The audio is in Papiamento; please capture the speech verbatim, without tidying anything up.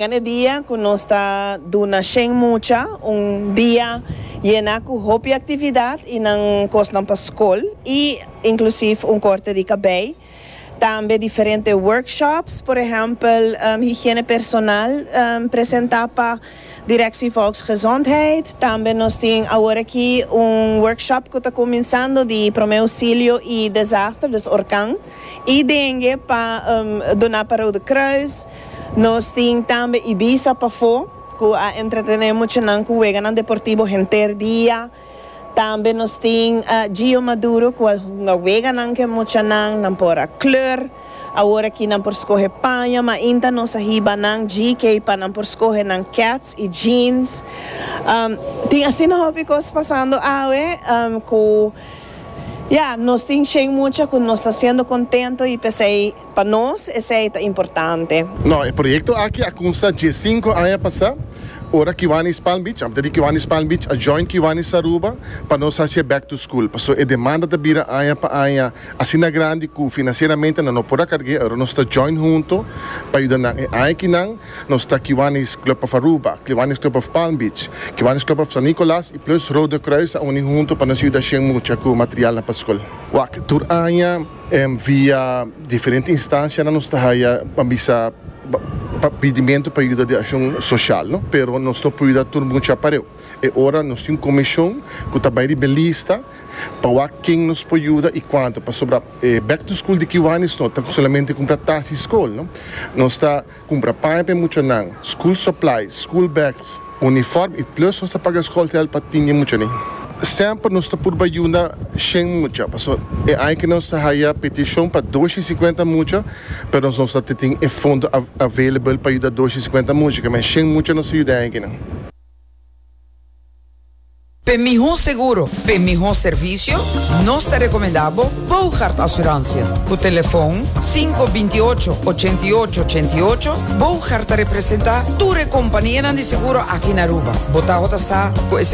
E dia cu nos ta duna shen mucha, un dia yena cu hopi actividad y nan cosnan pa scol y inclusive un corte di cabey. Tambe diferente workshops, por ehempel, um, higiene personal um, presenta pa Directie Volksgezondheid. Tambe nos tin awor aki un workshop cu ta cuminsando di prome auxilio y desaster, dus orkan. Y dengue pa um, duna pa Rode Kruis. Nos tin tambe Ibiza pafo, cu a entretene muchanan cu weganan deportivo henter dia. Tambe nos tin uh, Gio Maduro cu un weganan cu muchanan nan por a kleur. Awor aki nan por scoge paña, ma ainda nos a hiba nan G K pa nan por scoge nan keds y jeans. Um, tin asina hopi cos pasando awe, um, cu ja, nos tin shen mucha cu nos ta siendo contento y pesey pa nos esey ta importante. No, e proyecto aki a cuminsa diescinco aña pasa. Ora Kiwanis Palm Beach, anto di Kiwanis Palm Beach, a join Kiwanis Aruba pa nos haci back to school. Paso e demanda ta bira aña pa aña asina grandi cu financieramente no por a carga, awor nos ta join hunto pa yuda nan. E akinan, nos ta Kiwanis Club of Aruba, Kiwanis Club of Palm Beach, Kiwanis Club of San Nicolas y plus Rode Kruis a uni hunto pa nos yuda mucha cu material pa scol. Wak, tur aña em, via diferente instancia nos ta haya bisa pedimento pa ayudo di accion social, no? Pero nos no por yuda tur mucha pareu. E ora nos tin un comision cu ta bay riba lista pa wak ken nos por yuda y cuanto. Pasobra eh, back to school di Kiwanis no ta solamente cumpra tas di scol, no? Nos ta cumpra paña pa muchanan, school supplies, school bags, uniform y plus nos ta paga scol pa tin muchanan. Semper nos ta purba yuda shen mucha. Paso e aña aki nos a haya peticion pa dos i sinkuenta mucha, pero nos no tin e fondo available pa yuda dos i sinkuenta mucha, mas shen mucha nos ta yuda aki, no. Pa miho seguro, pa miho servicio, nos ta recomenda Bogart Assurantie. O telefone cinco dos ocho ocho ocho ocho ocho. Bogart ta representa tur compania di seguro aki na Aruba. Bo ta sa.